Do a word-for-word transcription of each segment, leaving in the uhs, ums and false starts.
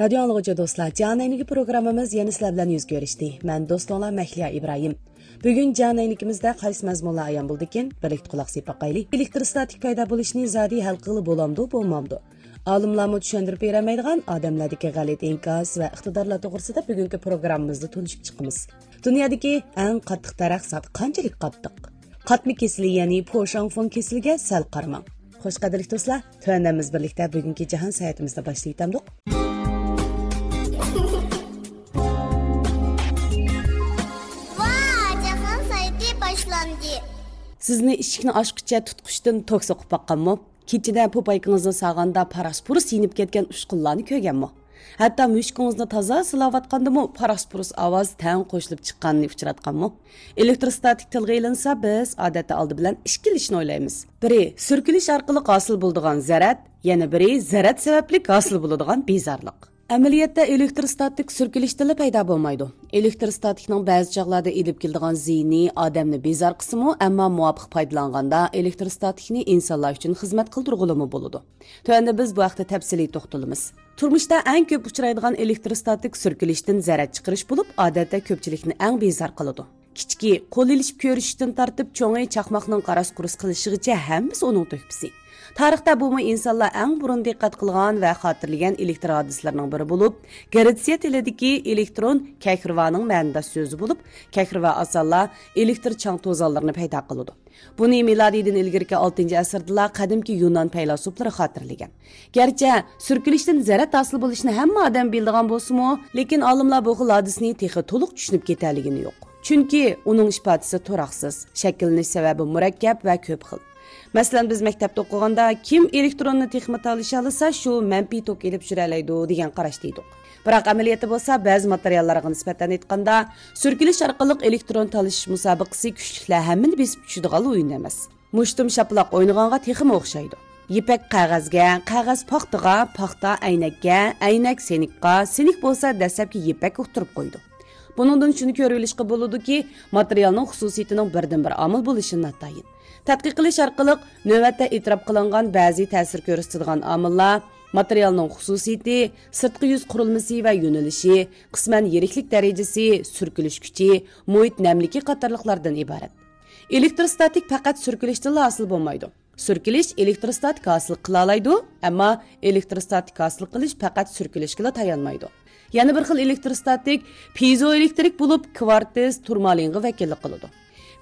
رادىيو ئاڭلىغۇچى دوستلار، جان ئەينىكى پروگراممىمىز يەنە سىلەر بىلەن يۈز كۆرۈشتى. مەن دوستۇڭلار مەھلىيا ئىبراھىم. بۈگۈن جان ئەينىكىمىزدە قايسى مەزمۇنلار ئايان بولدىكىن؟ بىرلىكتە قۇلاق سېلىپ باقايلى. ئېلېكتروستاتىك پەيدا بولۇشنى زادى ھەل قىلغىلى بولامدۇ، بولمامدۇ؟ ئالىملارمۇ چۈشەندۈرۈپ بېرەلمەيدىغان ئادەملەردىكى غەلىتە ئىنكاس ۋە ئىقتىدارلار توغرىسىدا بۈگۈنكى پروگراممىمىزدا تونۇشۇپ چىقىمىز. دۇنيادىكى ئەڭ قاتتىق دەرەخ زادى قانچىلىك قاتتىق؟ قاتما كېسىلى، يەنى پوشاڭفېڭ كېسىلىگە سەل قارىماڭ. خوش، قەدىرلىك دوستلار، تۆۋەندە بىز بىرلىكتە بۈگۈنكى جاھان ساياھىتىمىزنى باشلاۋېتەمدۇق. ۋا، جاھان ساياھىتى باشلاندى. سىزنى ئىشىكنى ئاچقۇچە تۇتقۇچتىن توك سوقۇپ باققانمۇ؟ كېچىدە پوپايكىڭىزنى ساغاندا پاراس-پۇرۇس يېنىپ كەتكەن ئۇچقۇنلارنى كۆرگەنمۇ؟ ھەتتا مۈشۈكىڭىزنى تازا سىلاۋاتقاندىمۇ پاراس-پۇرۇس ئاۋاز تەڭ قوشۇلۇپ چىققاننى ئۇچراتقانمۇ؟ ئېلېكتروستاتىك تىلغا ئېلىنسا، بىز ئادەتتە ئالدى بىلەن ئىككى ئىشنى ئويلايمىز. بىرى، سۈركىلىش ئارقىلىق ھاسىل بولىدىغان زەرەت، يەنە بىرى، زەرەت سەۋەبلىك ھاسىل بولىدىغان بىزارلىق. ئەمەلىيەتتە ئېلېكتروستاتىك سۈركىلىشتىنلا پەيدا بولمايدۇ. ئېلېكتروستاتىكنىڭ بەزى چاغلاردا ئېلىپ كېلىدىغان زىيىنى ئادەمنى بىزار قىلسىمۇ، ئەمما مۇۋاپىق پايدىلانغاندا ئېلېكتروستاتىكنى ئىنسانلار ئۈچۈن خىزمەت قىلدۇرغىلىمۇ بولىدۇ. تۆۋەندە بىز بۇ ھەقتە تەپسىلىي توختىلىمىز. تۇرمۇشتا ئەڭ كۆپ ئۇچرايدىغان ئېلېكتروستاتىك سۈركىلىشتىن زەرەت چىقىرىش بولۇپ، ئادەتتە كۆپچىلىكنى ئەڭ بىزار قىلىدۇ. كىچىكى، قول ئېلىشىپ كۆرۈشۈشتىن تارتىپ چوڭى چاقماقنىڭ قاراس-قۇرۇس قىلىشىغىچە ھەممىسى ئۇنىڭ تۆھپىسى. تارىختا بۇمۇ ئىنسانلار ئەڭ بۇرۇن دىققەت قىلغان ۋە خاتىرىلىگەن ئېلېكتر ھادىسىلىرىنىڭ بىرى بولۇپ، گرېتسىيە تىلىدىكى ئېلېكترون كەھرىۋانىڭ مەنىداش سۆزى بولۇپ، كەھرىۋا ئاسانلا ئېلېكتر چاڭ توزانلىرىنى پەيدا قىلىدۇ. بۇنى مىلادىيدىن ئىلگىرىكى ئالتىنچى ئەسىردىلا قەدىمكى يۇنان پەيلاسوپلىرى خاتىرىلىگەن. گەرچە سۈركىلىشتىن زەرەت ھاسىل بولۇشىنى ھەممە ئادەم بىلىدىغان بولسىمۇ، لېكىن ئالىملار بۇ خىل ھادىسىنى تېخى تولۇق چۈشىنىپ كېتەلىگىنى يوق. چۈنكى ئۇنىڭ ئىپادىسى تۇراقسىز، شەكىللىنىش سەۋەبى مۇرەككەپ ۋە كۆپ خىل. مەسىلەن، بىز مەكتەپتە ئوقۇغاندا، كىم ئېلېكتروننى تېخىمۇ تالىشالىسا، شۇ مەنپىي توك ئېلىپ يۈرەلەيدۇ، دېگەن قاراشتا ئىدۇق. بىراق ئەمەلىيەتتە بولسا، بەزى ماتېرىياللارغا نىسبەتەن ئېيتقاندا، سۈركىلىش ئارقىلىق ئېلېكترون تالىشىش مۇسابىقىسى كۈچلۈكلەر ھەممىنى بېسىپ چۈشىدىغان ئويۇن ئەمەس. مۇشتۇم شاپىلاق ئوينىغانغا تېخىمۇ ئوخشايدۇ. يىپەك قەغەزگە، قەغەز پاختىغا، پاختا ئەينەككە، ئەينەك سېنىكقا، سېنىك بولسا دەسلەپكى يىپەككە ئۇتتۇرۇپ قويىدۇ. بۇنىڭدىن شۇنى كۆرۈۋېلىشقا بولىدۇكى، ماتېرىيالنىڭ خۇسۇسىيىتىنىڭ بىردىنبىر ئامىل بولۇشى ناتايىن. تەتقىق قىلىش ئارقىلىق نۆۋەتتە ئېتىراپ قىلىنغان بەزى تەسىر كۆرسىتىدىغان ئامىللار، ماتېرىيالنىڭ خۇسۇسىيىتى، سىرتقى يۈز قۇرۇلمىسى ۋە يۆنىلىشى، قىسمەن يىرىكلىك دەرىجىسى، سۈركىلىش كۈچى، مۇھىت نەملىكى قاتارلىقلاردىن ئىبارەت. ئېلېكتروستاتىك پەقەت سۈركىلىشتىنلا ھاسىل بولمايدۇ. سۈركىلىش ئېلېكتروستاتىك ھاسىل قىلالايدۇ، ئەمما ئېلېكتروستاتىك ھاسىل قىلىش پەقەت سۈركىلىشكىلا تايانمايدۇ. يەنە بىر خىل ئېلېكتروستاتىك پىيزوئېلېكترىك بولۇپ، كۋارتس، تۇرمالىنغا ۋەكىللىك قىلىدۇ.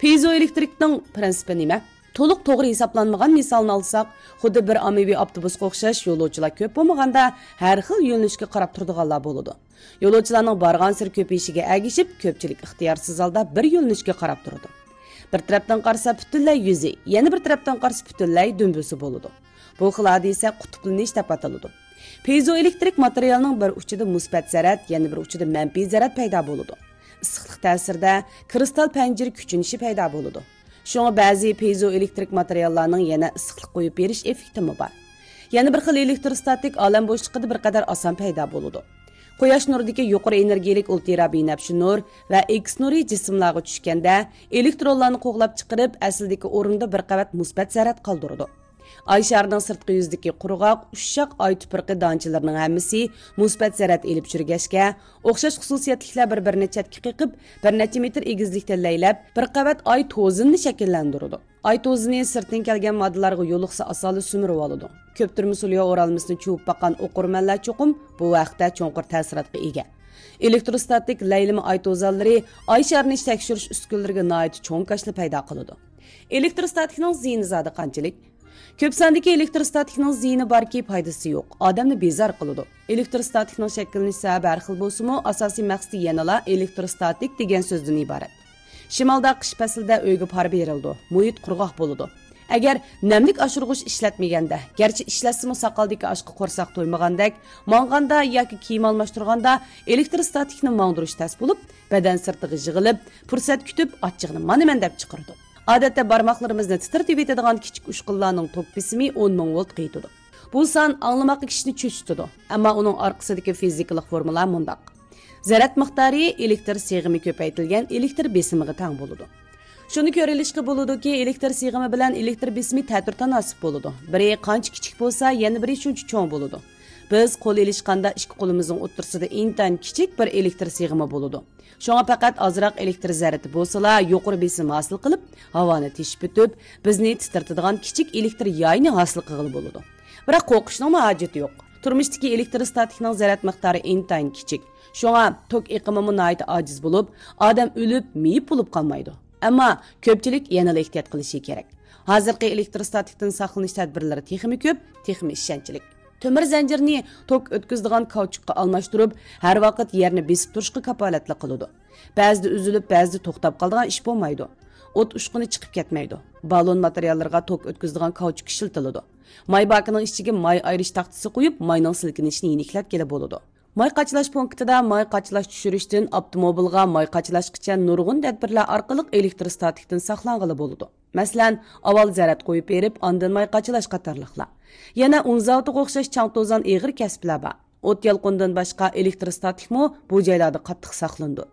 پىيزوئېلېكترىكنىڭ پىرىنسىپى نېمە؟ تولۇق توغرا ھېسابلانمىغان مىسالنى ئالساق، خۇددى بىر ئاممىۋى ئاپتوبۇسقا ئوخشاش يولۇچىلار كۆپ بولمىغاندا، ھەر خىل يۆنىلىشكە قاراپ تۇرىدىغانلار بولىدۇ. يولۇچىلارنىڭ بارغانسېرى كۆپىيىشىگە ئەگىشىپ، كۆپچىلىك ئىختىيارسىز ھالدا بىر يۆنىلىشكە قاراپ تۇرىدۇ. بىر تەرەپتىن قارىسا پۈتۈنلەي يۈزى، يەنە بىر تەرەپتىن قارىسا پۈتۈنلەي دۈمبىسى بولىدۇ. بۇ خىل ھادىسە قۇتۇپلىنىش دەپ ئاتىلىدۇ. پىيزوئېلېكترىك ماتېرىيالنىڭ بىر ئۇچىدا مۇسبەت زەرەت، يەنە بىر ئۇچىدا مەنپىي زەرەت پەيدا بولىدۇ. ئىسسىقلىق تەسىرىدە كىرىستال پەنجىرە كۈچىنىشى پەيدا بولىدۇ. شۇڭا بەزى پىيزوئېلېكترىك ماتېرىياللارنىڭ يەنە ئىسسىقلىق قويۇپ بېرىش ئېففېكتىمۇ بار. يەنە بىر خىل ئېلېكتروستاتىك ئالەم بوشلۇقىدا بىر قەدەر ئاسان پەيدا بولىدۇ. قۇياش نۇرىدىكى يۇقىرى ئېنېرگىيىلىك ئۇلترا بىنەپشە نۇر ۋە ئېكس نۇرى جىسىملارغا چۈشكەندە، ئېلېكترونلارنى قوغلاپ چىقىرىپ، ئەسلىدىكى ئورنىدا بىر قەۋەت مۇسبەت زەرەت قالدۇرىدۇ. ئاي شارىنىڭ سىرتقى يۈزىدىكى قۇرغاق، ئۇششاق ئاي تۇپرىقى دانچىلىرىنىڭ ھەممىسى مۇسبەت زەرەت ئېلىپ يۈرگەچكە، ئوخشاش خۇسۇسىيەتلىكلەر بىر-بىرىنى چەتكە قېقىپ، بىر نەچچە مېتىر ئېگىزلىكتە لەيلەپ، بىر قەۋەت ئاي توزىنىنى شەكىللەندۈرىدۇ. ئاي توزىنى سىرتتىن كەلگەن ماددىلارغا يولۇقسا ئاسانلا سۈمۈرۈۋالىدۇ. كۆپتۈرمە سولياۋ ئورالمىسىنى چۇۋۇپ باققان ئوقۇرمەنلەر چوقۇم بۇ ھەقتە چوڭقۇر تەسىراتقا ئىگە. ئېلېكتروستاتىك لەيلىمە ئاي توزانلىرى ئاي شارىنى تەكشۈرۈش ئۈسكۈنىلىرىگە ناھايىتى چوڭ كاشىلا پەيدا قىلىدۇ. ئېلېكتروستاتىكنىڭ زىيىنى زادى قانچىلىك؟ كۆپ ساندىكى ئېلېكتروستاتىكنىڭ زىيىنى باركى، پايدىسى يوق، ئادەمنى بېزار قىلىدۇ. ئېلېكتروستاتىكنىڭ شەكىللىنىش سەۋەبى ھەر خىل بولسىمۇ، ئاساسىي مەقسىتى يەنىلا ئېلېكتروستاتىك دېگەن سۆزدىن ئىبارەت. شىمالدا قىش پەسلىدە ئۆيگە پار بېرىلىدۇ، مۇھىت قۇرغاق بولىدۇ. ئەگەر نەملىك ئاشۇرغۇچ ئىشلەتمىگەندە، گەرچە ئىشلەتسىمۇ ساقالدىكى ئاشقا قورساق تويمىغاندەك، ماڭغاندا ياكى كىيىم ئالماشتۇرغاندا ئېلېكتروستاتىكنى ماڭدۇرۇش تەس بولۇپ، بەدەن سىرتىغا يىغىلىپ، پۇرسەت كۈتۈپ ئاچچىقىنى مانا مەن دەپ چىقىرىدۇ. ئادەتتە بارماقلىرىمىزنى تىترىتىۋېتىدىغان كىچىك ئۇچقۇنلارنىڭ توك بېسىمى ئون مىڭ ۋولتقا يېتىدۇ. بۇ سان ئاڭلىماققا كىشىنى چۆچۈتىدۇ، ئەمما ئۇنىڭ ئارقىسىدىكى فىزىكىلىق فورمۇلا مۇنداق. زەرەت مىقدارى ئېلېكتر سىغىمى كۆپەيتىلگەن ئېلېكتر بېسىمىغا تەڭ بولىدۇ. شۇنى كۆرۈۋېلىشقا بولىدۇكى، ئېلېكتر سىغىمى بىلەن ئېلېكتر بېسىمى تەتۈر تاناسىپ بولىدۇ. بىرى قانچە كىچىك بولسا، يەنە بىرى شۇنچە چوڭ بولىدۇ. بىز قول ئېلىشقاندا ئىككى قولىمىزنىڭ ئوتتۇرىسىدا ئىنتايىن كىچىك بىر ئېلېكتر سىغىمى بولىدۇ. شۇڭا پەقەت ئازراق ئېلېكتر زەرىتى بولسىلا يۇقىرى بېسىم ھاسىل قىلىپ، ھاۋانى تېشىپ ئۆتۈپ، بىزنى تىترىتىدىغان كىچىك ئېلېكتر يايىنى ھاسىل قىلغىلى بولىدۇ. بىراق قورقۇشنىڭمۇ ھاجىتى يوق. تۇرمۇشتىكى ئېلېكتروستاتىكنىڭ زەرەت مىقدارى ئىنتايىن كىچىك. شۇڭا توك ئېقىمىمۇ ناھايىتى ئاجىز بولۇپ، ئادەم ئۆلۈپ، مېيىپ بولۇپ قالمايدۇ. ئەمما كۆپچىلىك يەنىلا ئېھتىيات قىلىشى كېرەك. ھازىرقى ئېلېكتروستاتىكتىن ساقلىنىش تەدبىرلىرى تېخىمۇ كۆپ، تېخىمۇ ئىشەنچلىك. تۆمۈر زەنجىرنى توك ئۆتكۈزىدىغان كاۋچۇكقا ئالماشتۇرۇپ، ھەر ۋاقىت يەرنى بېسىپ تۇرۇشقا كاپالەتلىك قىلىدۇ. بەزىدە ئۈزۈلۈپ، بەزىدە توختاپ قالىدىغان ئىش بولمايدۇ. ئوت ئۇچقۇنى چىقىپ كەتمەيدۇ. بالون ماتېرىياللىرىغا توك ئۆتكۈزىدىغان كاۋچۇك ئىشلىتىلىدۇ. ماي باكىنىڭ ئىچىگە ماي ئايرىش تاختىسى قويۇپ، ماينىڭ سىلكىنىشىنى يېنىكلەتكىلى بولىدۇ. ماي قاچىلاش پونكىتىدا ماي قاچىلاش چۈشۈرۈشتىن ئاپتوموبىلغا ماي قاچىلاشقىچە نۇرغۇن تەدبىرلەر ئارقىلىق ئېلېكتروستاتىكتىن ساقلانغىلى بولىدۇ. مەسىلەن، ئاۋۋال زەرەت قويۇپ بېرىپ، ئاندىن ماي قاچىلاش قاتارلىقلار. يەنە ئۇن زاۋۇتىغا ئوخشاش چاڭ توزان ئېغىر كەسىپلەر بار. ئوت يالقۇنىدىن باشقا ئېلېكتروستاتىكمۇ بۇ جايلاردا قاتتىق ساقلىنىدۇ.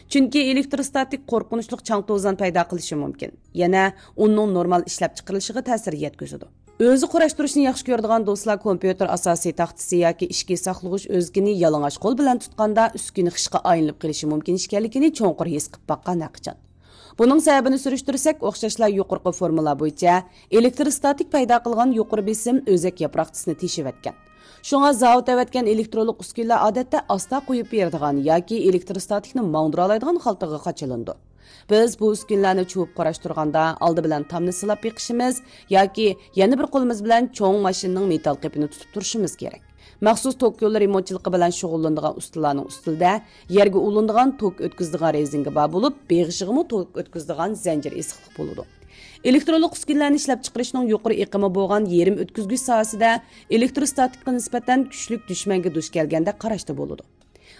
چۈنكى ئېلېكتروستاتىك قورقۇنچلۇق چاڭ توزان پەيدا قىلىشى مۇمكىن. يەنە ئۇننىڭ نورمال ئىشلەپچىقىرىلىشىغا تەسىر يەتكۈزىدۇ. ئۆزى قۇراشتۇرۇشنى ياخشى كۆرىدىغان دوستلار كومپيۇتېر ئاساسىي تاختىسى ياكى ئىچكى ساقلىغۇچ ئۆزىكىنى يالىڭاچ قول بىلەن تۇتقاندا ئۈسكۈنە خىشقا ئايلىنىپ قېلىشى مۇمكىن ئىكەنلىكىنى چوڭقۇر ھېس قىلىپ باققان ھەرقاچان. بۇنىڭ سەۋەبىنى سۈرۈشتۈرسەك، ئوخشاشلا يۇقىرىقى فورمۇلا بويىچە ئېلېكتروستاتىك پەيدا قىلغان يۇقىرى بېسىم ئۆزەك ياپراقچىسىنى تېشىۋەتكەن. شۇڭا زاۋۇت ئەۋەتكەن ئېلېكترونلۇق ئۈسكۈنىلەر ئادەتتە ئاستا قويۇپ بېرىدىغان ياكى ئېلېكتروستاتىكنى ماڭدۇرالايدىغان خالتىغا قاچىلىنىدۇ. بىز بۇ ئۈسكۈنىلەرنى چۇۋۇپ قۇراشتۇرغاندا، ئالدى بىلەن تامنى سىلاپ بېقىشىمىز ياكى يەنە بىر قولىمىز بىلەن چوڭ ماشىنىنىڭ مېتال قېپىنى تۇتۇپ تۇرۇشىمىز كېرەك. مەخسۇس توك يولى رېمونتچىلىقى بىلەن شۇغۇللىنىدىغان ئۇستىلارنىڭ ئۈستىلىدە يەرگە ئۇلىنىدىغان توك ئۆتكۈزىدىغان رېزىنكا بار بولۇپ، بېغىشىغىمۇ توك ئۆتكۈزىدىغان زەنجىر ئېسىقلىق بولىدۇ. ئېلېكترونلۇق ئۈسكۈنىلەرنى ئىشلەپچىقىرىشنىڭ يۇقىرى ئېقىمى بولغان يېرىم ئۆتكۈزگۈچ ساھەسىدە ئېلېكتروستاتىكقا نىسبەتەن كۈچلۈك دۈشمەنگە دۇچ كەلگەندەك قاراشتا بولىدۇ.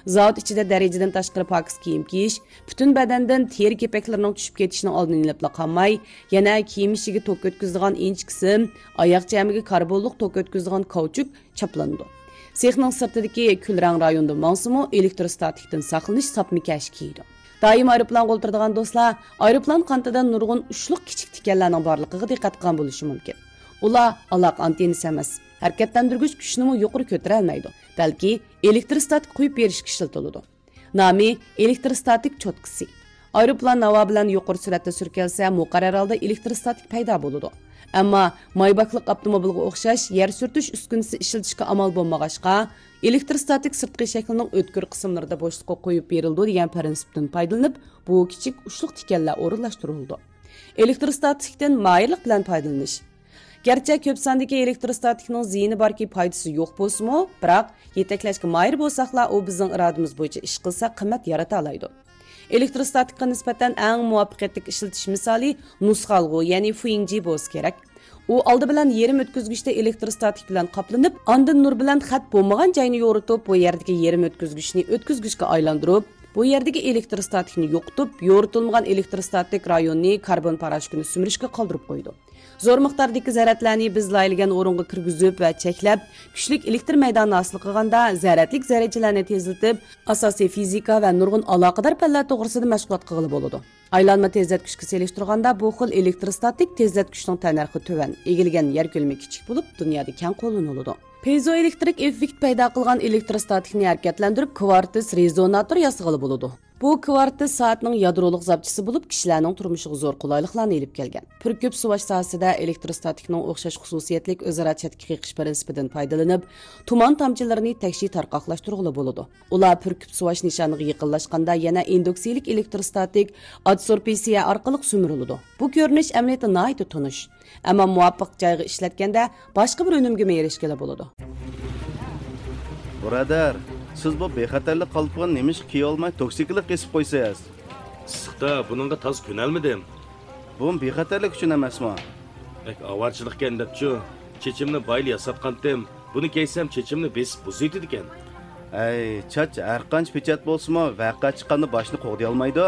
زاۋۇت ئىچىدە دەرىجىدىن تاشقىرى پاكىز كىيىم كىيىش، پۈتۈن بەدەندىن تېرە كېپەكلىرىنىڭ چۈشۈپ كېتىشىنىڭ ئالدىنى ئېلىپلا قالماي، يەنە كىيىم ئىچىگە توك ئۆتكۈزىدىغان ئىنچىكە سىم، ئاياغ چەمىگە كاربونلۇق توك ئۆتكۈزىدىغان كاۋچۇك چاپلىنىدۇ. سېخنىڭ سىرتىدىكى كۈلرەڭ رايوندا ماڭسىمۇ، ئېلېكتروستاتىكتىن ساقلىنىش ساپما كەش كىيىدۇ. دائىم ئايروپىلانغا ئولتۇرىدىغان دوستلار ئايروپىلان قانىتىدا نۇرغۇن ئۇچلۇق كىچىك تىكەنلەرنىڭ بارلىقىغا دىققەت قىلغان بولۇشى مۇمكىن. ئۇلار ئالاقە ئانتېننىسى ئەمەس، ھەرىكەتلەندۈرگۈچ كۈچنىمۇ يۇقىرى كۆتۈرەلمەيدۇ، بەلكى ئېلېكتروستاتىك قويۇپ بېرىشكە ئىشلىتىلىدۇ. نامى ئېلېكتروستاتىك چوتكىسى. ئايروپىلان ھاۋا بىلەن يۇقىرى سۈرئەتتە سۈركەلسە، مۇقەررەر ھالدا ئېلېكتروستاتىك پەيدا بولىدۇ. ئەمما مايباكلىق ئاپتوموبىلغا ئوخشاش يەر سۈرتۈش ئۈسكۈنىسى ئىشلىتىشكە ئامال بولمىغاچقا، ئېلېكتروستاتىك سىرتقى شەكلىنىڭ ئۆتكۈر قىسىملىرىدا بوشلۇققا قويۇپ بېرىلىدۇ دېگەن پىرىنسىپتىن پايدىلىنىپ، بۇ كىچىك ئۇچلۇق تىكەنلەر ئورۇنلاشتۇرۇلىدۇ. ئېلېكتروستاتىكتىن ماھىرلىق بىلەن پايدىلىنىش. گەرچە كۆپ ساندىكى ئېلېكتروستاتىكنىڭ زىيىنى باركى، پايدىسى يوق بولسىمۇ، بىراق يېتەكلەشكە ماھىر بولساقلا، ئۇ بىزنىڭ ئىرادىمىز بويىچە ئىش قىلسا، قىممەت يارىتالايدۇ. ئېلېكتروستاتىكقا نىسبەتەن ئەڭ مۇۋەپپەقىيەتلىك ئىشلىتىش مىسالى نۇسخا ئالغۇ، يەنى فۇيىڭجى بولسا كېرەك. ئۇ ئالدى بىلەن يېرىم ئۆتكۈزگۈچتە ئېلېكتروستاتىك بىلەن قاپلىنىپ، ئاندىن نۇر بىلەن خەت بولمىغان جاينى يورۇتۇپ، بۇ يەردىكى يېرىم ئۆتكۈزگۈچنى ئۆتكۈزگۈچكە ئايلاندۇرۇپ، بۇ يەردىكى ئېلېكتروستاتىكنى يوقىتىپ، يورۇتۇلمىغان ئېلېكتروستاتىك رايوننى كاربون پاراشوكىنى سۈمۈرۈشكە قالدۇرۇپ قويىدۇ. زور مىقداردىكى زەرەتلەرنى بىز لايىھەلىگەن ئورۇنغا كىرگۈزۈپ ۋە چەكلەپ، كۈچلۈك ئېلېكتر مەيدانى ھاسىل قىلغاندا، زەرەتلىك زەررىچىلەرنى تېزلىتىپ، ئاساسىي فىزىكا ۋە نۇرغۇن ئالاقىدار پەنلەر توغرىسىدا مەشغۇلات قىلغىلى بولىدۇ. ئايلانما تېزلەتكۈچكە سېلىشتۇرغاندا، بۇ خىل ئېلېكتروستاتىك تېزلەتكۈچنىڭ تەننەرخى تۆۋەن، ئىگىلىگەن يەر كۆلىمى كىچىك بولۇپ، دۇنيادا كەڭ قوللىنىلىدۇ. پىزوئېلېكترىك ئېففېكت پەيدا قىلغان ئېلېكتروستاتىكنى ھەرىكەتلەندۈرۈپ، كۋارتس رېزوناتور ياسىغىلى بولىدۇ. بۇ كۋارتس سائەتنىڭ يادرولۇق زاپچىسى بولۇپ، كىشىلەرنىڭ تۇرمۇشىغا زور قولايلىقلارنى ئېلىپ كەلگەن. پۈركۈپ سۇۋاش ساھەسىدە ئېلېكتروستاتىكنىڭ ئوخشاش خۇسۇسىيەتلىك ئۆزئارا چەتكە قېقىش پىرىنسىپىدىن پايدىلىنىپ، تۇمان تامچىلىرىنى تەكشى تارقاقلاشتۇرغىلى بولىدۇ. ئۇلار پۈركۈپ سۇۋاش نىشانىغا يېقىنلاشقاندا يەنە ئىندۇكسىيىلىك ئېلېكتروستاتىك ئادسورپسىيە ئارقىلىق سۈمۈرۈلىدۇ. بۇ كۆرۈنۈش ئەمەلىيەتتە ناھايىتى تونۇش. ئەمما مۇۋاپىق جايغا ئىشلەتكەندە باشقا بىر ئۈنۈمگىمۇ ئېرىشكىلى بولىدۇ. بۇرادەر، سىز بۇ بىخەتەرلىك قالپىقىنى نېمىشقا كىيىۋالماي توكسىكلىق قېسىپ قويىسىز؟ ئىسسىقتا بۇنىڭغا تازا كۆنەلمىدىم. بۇمۇ بىخەتەرلىك ئۈچۈن ئەمەسمۇ؟ بەك ئاۋارىچىلىقكەن دەپچۇ. چېچىمنى بايىلا ياساتقانتىم. بۇنى كىيسەم چېچىمنى بېسىپ بۇزۇۋېتىدىكەن. ئەي، چاچ ھەرقانچە پېچەت بولسىمۇ، ۋەقە چىققاندا باشنى قوغدىيالمايدۇ.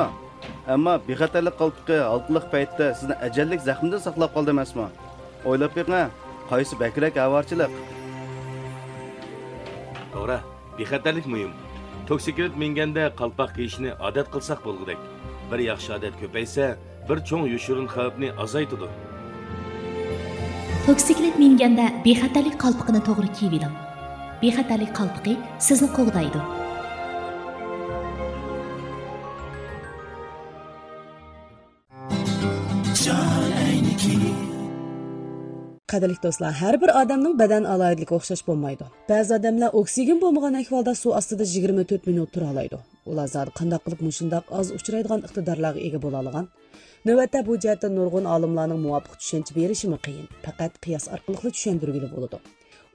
ئەمما بىخەتەرلىك قالپىقى ھالقىلىق پەيتتە سىزنى ئەجەللىك زەخمىدىن ساقلاپ قالدى ئەمەسمۇ؟ ئويلاپ بېقىڭە، قايسى بەكرەك ئاۋارىچىلىق؟ توغرا، بىخەتەرلىك مۇھىم. توكسىكلىت مىنگەندە قالپاق كىيىشنى ئادەت قىلساق بولغۇدەك. بىر ياخشى ئادەت كۆپەيسە، بىر چوڭ يوشۇرۇن خەۋپنى ئازايتىدۇ. توكسىكلىت مىنگەندە بىخەتەرلىك قالپىقىنى توغرا كىيىۋېلىڭ. بىخەتەرلىك قالپىقى سىزنى قوغدايدۇ. قەدىرلىك دوستلار، ھەر بىر ئادەمنىڭ بەدەن ئالاھىدىلىكى ئوخشاش بولمايدۇ. بەزى ئادەملەر ئوكسىگېن بولمىغان ئەھۋالدا سۇ ئاستىدا يىگىرمە تۆت مىنۇت تۇرالايدۇ. ئۇلار زادى قانداق قىلىپ مۇشۇنداق ئاز ئۇچرايدىغان ئىقتىدارلارغا ئىگە بولالىغان؟ نۆۋەتتە بۇ جەھەتتە نۇرغۇن ئالىملارنىڭ مۇۋاپىق چۈشەنچە بېرىشىمۇ قىيىن. پەقەت قىياس ئارقىلىقلا چۈشەندۈرگىلى بولىدۇ.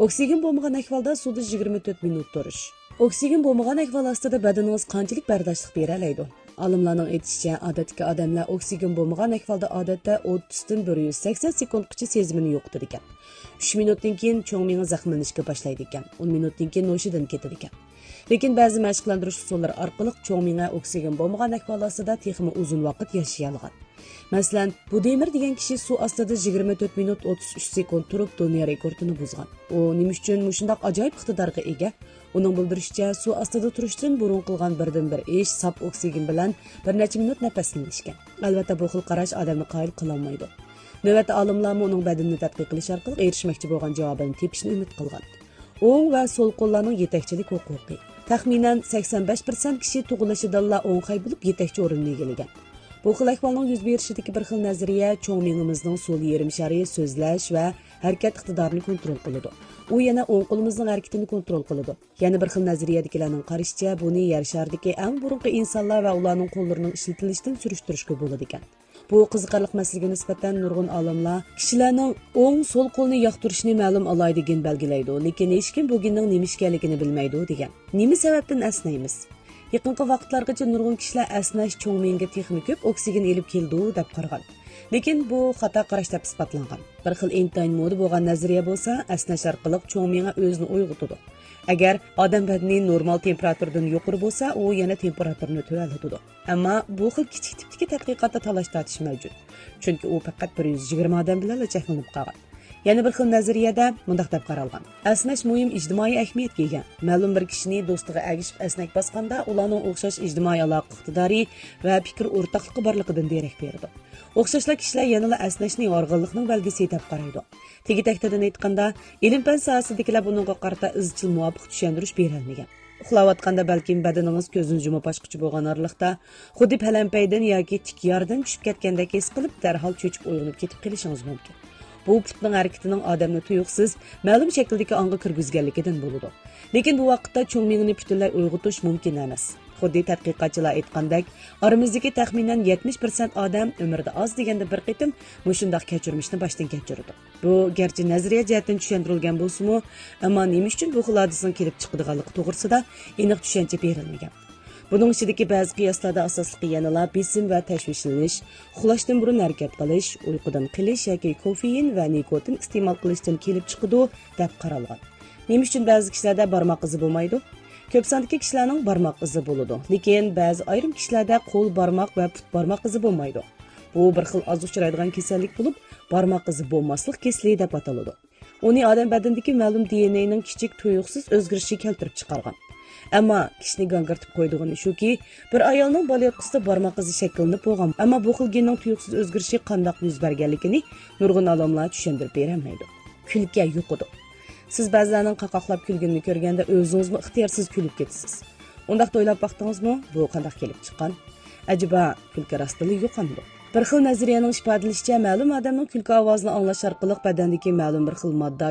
ئوكسىگېن بولمىغان ئەھۋالدا سۇدا يىگىرمە تۆت مىنۇت تۇرۇش. ئوكسىگېن بولمىغان ئەھۋال ئاستىدا بەدىنىڭىز قانچىلىك بەرداشلىق بېرەلەيدۇ؟ ئالىملارنىڭ ئېيتىشىچە، ئادەتتىكى ئادەملەر ئوكسىگېن بولمىغان ئەھۋالدا ئادەتتە ئوتتۇزدىن بىر يۈز سەكسەن سېكۇنتقىچە سېزىمىنى يوقىتىدىكەن. ئۈچ مىنۇتتىن كېيىن چوڭ مېڭە زەخىملىنىشكە باشلايدىكەن. ئون مىنۇتتىن كېيىن ھوشىدىن كېتىدىكەن. لېكىن بەزى مەشىقلەندۈرۈش ئۇسۇللىرى ئارقىلىق چوڭ مېڭە ئوكسىگېن بولمىغان ئەھۋال ئاستىدا تېخىمۇ ئۇزۇن ۋاقىت ياشىيالىغان. مەسىلەن، بۇدىمىر دېگەن كىشى سۇ ئاستىدا يىگىرمە تۆت مىنۇت ئوتتۇز ئۈچ سېكۇنت تۇرۇپ، دۇنيا رېكورتىنى بۇزغان. ئۇ نېمە ئۈچۈن مۇشۇنداق ئاجايىپ ئىقتىدارغا ئىگە؟ ئۇنىڭ بىلدۈرۈشىچە، سۇ ئاستىدا تۇرۇشتىن بۇرۇن قىلغان بىردىنبىر ئىش ساپ ئوكسىگېن بىلەن بىر نەچچە مىنۇت نەپەسلىنىشكەن. ئەلۋەتتە، بۇ خىل قاراش ئادەمنى قايىل قىلالمايدۇ. نۆۋەتتە ئالىملارمۇ ئۇنىڭ بەدىنىنى تەتقىق قىلىش ئارقىلىق ئېرىشمەكچى بولغان جاۋابىنى تېپىشنى ئۈمىد قىلغان. ئوڭ ۋە سول قوللارنىڭ يېتەكچىلىك ھوقۇقى. تەخمىنەن سەكسەن بەش پىرسەنت كىشى تۇغۇلۇشىدىنلا ئوڭ خەي بولۇپ يېتەكچى ئورۇننى ئىگىلىگەن. بۇ خىل ئەھۋالنىڭ يۈز بېرىشىدىكى بىر خىل نەزەرىيە چوڭ مېڭىمىزنىڭ سول يېرىم شارى سۆزلەش ۋە ھەرىكەت ئىقتىدارىنى كونترول قىلىدۇ. ئۇ يەنە ئوڭ قولىمىزنىڭ ھەرىكىتىنى كونترول قىلىدۇ. يەنە بىر خىل نەزەرىيەدىكىلەرنىڭ قارىشىچە، بۇنى يەر شارىدىكى ئەڭ بۇرۇنقى ئىنسانلار ۋە ئۇلارنىڭ قوللىرىنىڭ ئىشلىتىلىشىدىن سۈرۈشتۈرۈشكە بولىدىكەن. بۇ قىزىقارلىق مەسىلىگە نىسبەتەن نۇرغۇن ئالىملار كىشىلەرنىڭ ئوڭ، سول قولىنى ياقتۇرۇشىنى مەلۇم ئالاھىدە گېن بەلگىلەيدۇ، لېكىن ھېچكىم بۇ گېننىڭ نېمە ئىكەنلىكىنى بىلمەيدۇ، دېگەن. نېمە سەۋەبتىن ئەسنەيمىز؟ يېقىنقى ۋاقىتلارغىچە نۇرغۇن كىشىلەر ئەسنەش چوڭ مېڭىگە تېخىمۇ كۆپ ئوكسىگېن ئېلىپ كېلىدۇ، دەپ قارىغان. لېكىن بۇ خاتا قاراش دەپ ئىسپاتلانغان. بىر خىل ئىنتايىن مودا بولغان نەزەرىيە بولسا، ئەسنەش ئارقىلىق چوڭ مېڭە ئۆزىنى ئويغىتىدۇ. ئەگەر ئادەم بەدىنى نورمال تېمپېراتۇرىدىن يۇقىرى بولسا، ئۇ يەنە تېمپېراتۇرىنى تۆۋەنلىتىدۇ. ئەمما بۇ خىل كىچىك تىپتىكى تەتقىقاتتا تالاش-تارتىش مەۋجۇت. چۈنكى ئۇ پەقەت بىر يۈز يىگىرمە ئادەم بىلەنلا چەكلىنىپ قالغان. يەنە بىر خىل نەزەرىيەدە مۇنداق دەپ قارالغان: ئەسنەش مۇھىم ئىجتىمائىي ئەھمىيەتكە ئىگە. مەلۇم بىر كىشىنى دوستىغا ئەگىشىپ ئەسنەك باسقاندا، ئۇلارنىڭ ئوخشاش ئىجتىمائىي ئالاقە ئىقتىدارى ۋە پىكىر ئورتاقلىقى بارلىقىدىن دېرەك بېرىدۇ. ئوخشاشلا كىشىلەر يەنىلا ئەسنەشنى ھارغىنلىقنىڭ بەلگىسى دەپ قارايدۇ. تېگى تەكتىدىن ئېيتقاندا، ئىلىم-پەن ساھەسىدىكىلەر بۇنىڭغا قارىتا ئىزچىل مۇۋاپىق چۈشەندۈرۈش بېرەلمىگەن. ئۇخلاۋاتقاندا بەلكىم بەدىنىڭىز كۆزىنى يۇمۇپ ئاچقۇچە بولغان ئارىلىقتا خۇددى پەلەمپەيدىن ياكى تىك ياردىن چۈشۈپ كەتكەندەك ھېس قىلىپ، دەرھال چۆچۈپ ئويغىنىپ كېتىپ قېلىشىڭىز مۇمكىن. بۇ پۇتنىڭ ھەرىكىتىنىڭ ئادەمنى تۇيۇقسىز مەلۇم شەكىلدىكى ئاڭغا كىرگۈزگەنلىكىدىن بولىدۇ. لېكىن بۇ ۋاقىتتا چوڭ مېڭىنى پۈتۈنلەي ئويغىتىش مۇمكىن ئەمەس. خۇددى تەتقىقاتچىلار ئېيتقاندەك، ئارىمىزدىكى تەخمىنەن يەتمىش پىرسەنت ئادەم ئۆمرىدە ئاز دېگەندە بىر قېتىم مۇشۇنداق كەچۈرمىشنى باشتىن كەچۈرىدۇ. بۇ گەرچە نەزەرىيە جەھەتتىن چۈشەندۈرۈلگەن بولسىمۇ، ئەمما نېمە ئۈچۈن بۇ خىل ھادىسىنىڭ كېلىپ چىقىدىغانلىقى توغرىسىدا ئېنىق چۈشەنچە بېرىلمىگەن. بۇنىڭ ئىچىدىكى بەزى قىياسلاردا ئاساسلىقى يەنىلا بېسىم ۋە تەشۋىشلىنىش، ئۇخلاشتىن بۇرۇن ھەرىكەت قىلىش، ئۇيقۇدىن قېلىش ياكى كوفېئىن ۋە نىكوتىن ئىستېمال قىلىشتىن كېلىپ چىقىدۇ، دەپ قارالغان. نېمە ئۈچۈن بەزى كىشىلەردە بارماق ئىزى بولمايدۇ؟ كۆپ ساندىكى كىشىلەرنىڭ بارماق ئىزى بولىدۇ، لېكىن بەزى ئايرىم كىشىلەردە قول بارماق ۋە پۇت بارماق ئىزى بولمايدۇ. بۇ بىر خىل ئاز ئۇچرايدىغان كېسەللىك بولۇپ، بارماق ئىزى بولماسلىق كېسىلى دەپ ئاتىلىدۇ. ئۇنى ئادەم بەدىنىدىكى مەلۇم دى ئېن ئېنىڭ كىچىك تۇيۇقسىز ئۆزگىرىشى كەلتۈرۈپ چىقارغان. ئەمما كىشىنى گاڭگىرىتىپ قويىدىغىنى شۇكى، بىر ئايالنىڭ بالىياتقۇسىدا بارماق ئىزى شەكىللىنىپ بولغان، ئەمما بۇ خىل گېننىڭ تۇيۇقسىز ئۆزگىرىشى قانداق يۈز بەرگەنلىكىنى نۇرغۇن ئالىملار چۈشەندۈرۈپ بېرەلمەيدۇ. كۈلكە يۇقىدۇ. سىز بەزىلەرنىڭ قاقاقلاپ كۈلگىنىنى كۆرگەندە ئۆزىڭىزمۇ ئىختىيارسىز كۈلۈپ كېتىسىز. ئۇنداقتا ئويلاپ باقتىڭىزمۇ، بۇ قانداق كېلىپ چىققان؟ ئەجەبا، كۈلكە راستتىنلا يۇقامدۇ؟ بىر خىل نەزەرىيەنىڭ ئىپادىلىشىچە، مەلۇم ئادەمنىڭ كۈلكە ئاۋازىنى ئاڭلاش ئارقىلىق بەدەندىكى مەلۇم بىر خىل ماددا